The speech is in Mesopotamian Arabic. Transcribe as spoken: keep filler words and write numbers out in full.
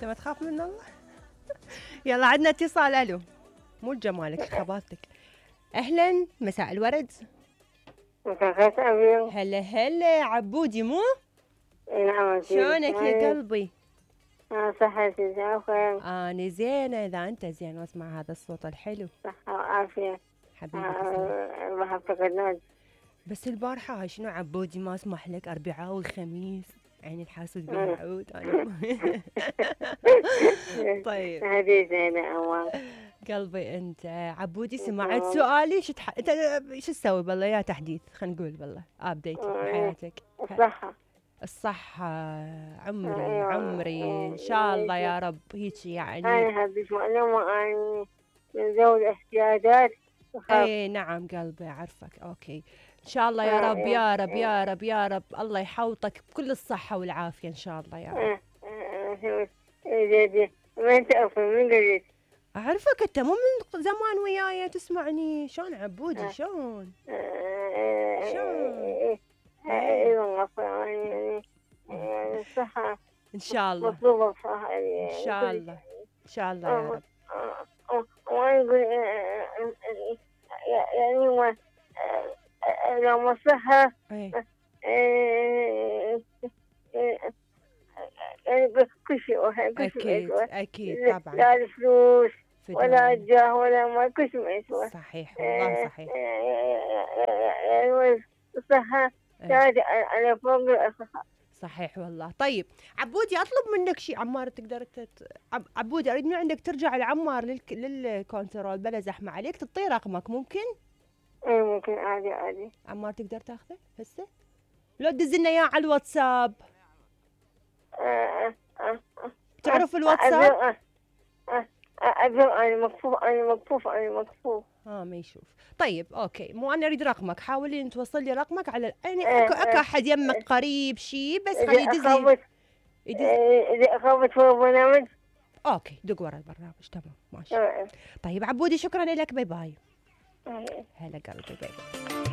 انت ما تخاف من الله. يلا عندنا اتصال. الو، مو الجمالك خباثتك. اهلا، مساء الورد. مساء الخير. هلا هلا عبودي مو؟ نعم. شلونك يا قلبي؟ اه صحتي زين. اني زينه، اذا انت زين واسمع هذا الصوت الحلو. صحة وعافية حبيبي آه ما افتقدناك. بس البارحه هاي شنو عبودي ما اسمح لك، اربعاء والخميس عين الحاسد بالعود انا. طيب هذه زينة أول قلبي انت عبودي سمعت سؤالي. شو تح... انت شو تسوي بالله؟ يا تحديث خلينا نقول بالله ابديتي بحياتك. الصحة الصحة عمري عمري ان شاء الله يا رب هيك يعني. انا هبيت معلومة اني من ذوي الاحتياجات. اي نعم قلبي اعرفك. اوكي ان شاء الله يا رب يا رب يا رب يا رب الله يحوطك بكل الصحة والعافية ان شاء الله يا رب. من تعرف من قريت؟ اعرفك انت مو من زمان وياي تسمعني. شلون عبودي شلون؟ شلون؟ اي والله يعني الصحة ان شاء الله مطلوبة بصراحة ان شاء الله ان شاء الله يا رب. وانا يقول يعني هو لو الصحة يعني كل شيء اكيد اكيد طبعا. لا الفلوس ولا الجاه ولا ما كل شيء ما يسوى. صحيح والله صحيح. يعني الصحة تاج على فوق الصحة. صحيح والله. طيب عبودي اطلب منك شيء. عمار تقدر تت... عب... عبودي اريد من عندك ترجع لعمار لل... للكونترول بلا زحمه عليك، تعطيه رقمك ممكن؟ اي ممكن عادي عادي. عمار تقدر تاخذه هسه؟ لو تدز لنا اياه على الواتساب. أه أه أه تعرف الواتساب؟ أه أه أه انا مكفوف انا مكفوف انا مكفوف. اه ما يشوف. طيب اوكي، مو انا اريد رقمك. حاولي ان توصل لي رقمك على يعني اكو اكو احد يمك قريب شيء بس خليه يدز لي. اذا اخافت فوق البرنامج. اوكي دق ورا البرنامج تمام ماشي. طيب عبودي شكرا لك. باي باي. هلا قلبي باي.